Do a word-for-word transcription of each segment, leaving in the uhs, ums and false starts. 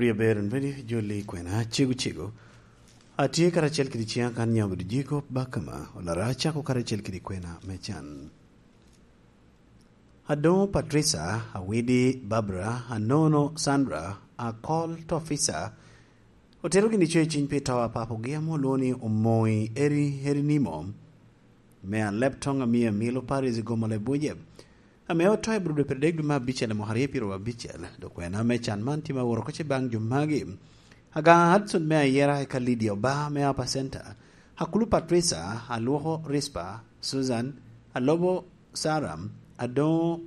Ri aber en bene jolli kwena cego cego. Atye karacel kede ciŋa kan nyamo bedo jiko bakama, olara acako karacel kede kwena me can. Adoŋo Patricia, Awidi Barbara, Anono Sandra, Akol Tofisa, otero gini coyo ciny pi to a papogi ame olwoŋo ni Omoi Eri, Eri Nimo, me Aleptoŋ, Amia Milo Paris i Gomol Ebuje, ame oto i Budo dwe pyeradek dwe me abicel i mwaka aryo pyeraryo abicel. Dok kwena me can man tye ma oworo oko baŋ jo magi: Agaŋa Hudson me Ayera, eka Lydia Oba me Upper Center, Akulu Patricia, Alwoko Rispa, Susan, Alobo Saram, Adoŋo,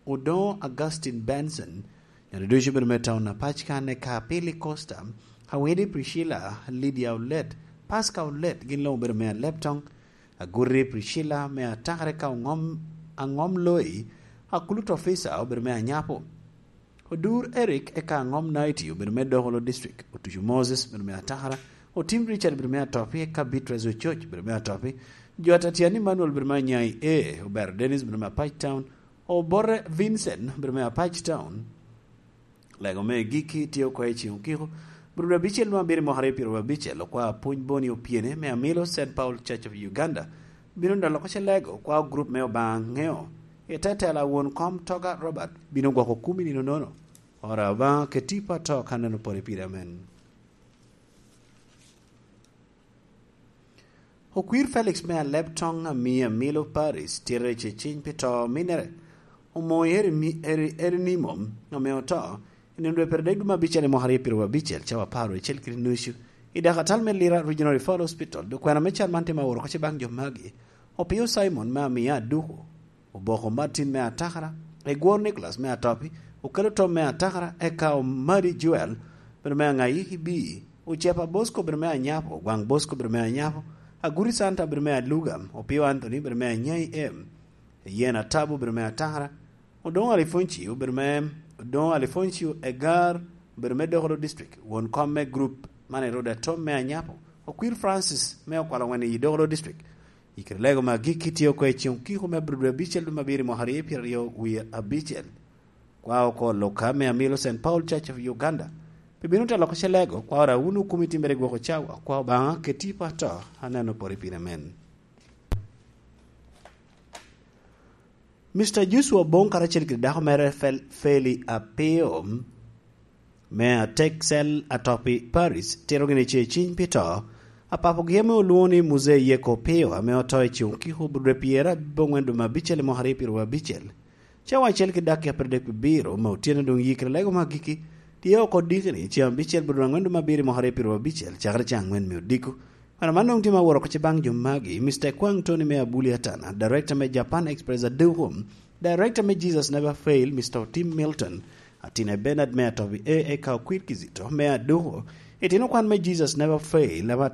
Odoŋo Augustine Benson, nyodo ducu bedo me taun apac kan, eka Pili Costa, Awidi Priscilla, Lydia Olet, Pasca Olet, gin luŋ obedo me Aleptoŋ, Aguri Priscilla me Atakara, eka Oŋom, Aŋom Loi, Akulu Tofisa obedo me Anyapo. Odur Eric eka Aŋom Naiti obedo me Dokolo District, Otucu Moses obedo me Atakara, Otim Richard obedo me Atopi, eka Beatrice Ococ obedo me Atopi, Jota Tiani Emmanuel obedo me Anyai A, Obero Dennis obedo me Apac Town, Obote Vincent obedo me Apac Town. Lego me gikki tye oko i ceŋ okiko, Budo abicel dwe abiro i mwaka aryo pyeraryo abicel, okwa Pwony Boni Opyene me Amilo Saint Paul Church of Uganda bino dolo oko ce lego, okwa gurup me Obaŋa Ŋeo. I te tela won kom Toga Robert bino gwoko kumi nino nono. Ora Obaŋa keti pa to ka neno pore pire, amen. Okwir Felix me Aleptoŋ, Amia Milo Paris, tito i ceciny pi to ominere. Omoyo Eri, Eri, Eri Nimo, ame oto i nino dwe pyeradek dwe me abicel i mwaka aryo pyeraryo abicel, cawa apar wiye acel kede nucu, i dakatal me Lira Regional Referral Hospital. Dok kwena me can man tye ma oworo oko ce baŋ jo magi: Opio Simon me Amia Aduku, Oboko Martin me Atakara, Egwor Nicholas me Atopi, Okelo Tom me Atakara, eka Omadi Joel, bedo me Aŋayi Ibi, Ocepa Bosco, bedo me Anyapo, Gwaŋ Bosco, bedo me Anyapo, Aguri Santa, bedo me Aluga, Opio Anthony, bedo me Anyai M, Yen Atabu, bedo me Atakara, Odoŋo Alifonci, obedo me, Odoŋo Alifonci Egar, obedo me Dokolo District, won kom me group man Eroda Tom me Anyapo, Okwir Francis me Okwalo Wen i Dokolo District. I kite lego me agikki tye oko i ceŋ okiko me Abril dwe abicel dwe me abiro i mwaka aryo pyeraryo wie abicel. Kwa oko Luka me Amilo Saint Paul Church of Uganda. Pi bino te loko ce lego, kwa ora wunu kumi timmere gwoko cawa, kwa Obaŋa keti pa to, aneno pori pire men. Mister Joshua Bong karacel kede dako mere Fel-, Feli Apio, me Atek Cell Atopi Paris, tito gini ce ciny pi to, apapogi ame olwoŋo ni Muzee Yeko Pio, ame oto i ceŋ okiko Abril dwe pyerabicel dwe me abicel i mwaka aryo pyeraryo abicel. Cawa acel ki dakika pyeradek abiro me otyeno doŋ yikere lego me agikki, tye oko dikini ceŋ abicel Abril dwe me abiro i mwaka aryo pyeraryo abicel, cakere ceŋ aŋwen me odiko. Wan man doŋ tye ma woro oko ce baŋ jo magi: Mister Kwang Tony me Abuli Atana, Director me Japan Express Aduku, Director me Jesus Never Fail, Mister Otim Milton, Atina Bernard me Atobi A, eka Okwir Kizito me Aduku, itino kwan me Jesus Never Fail, ame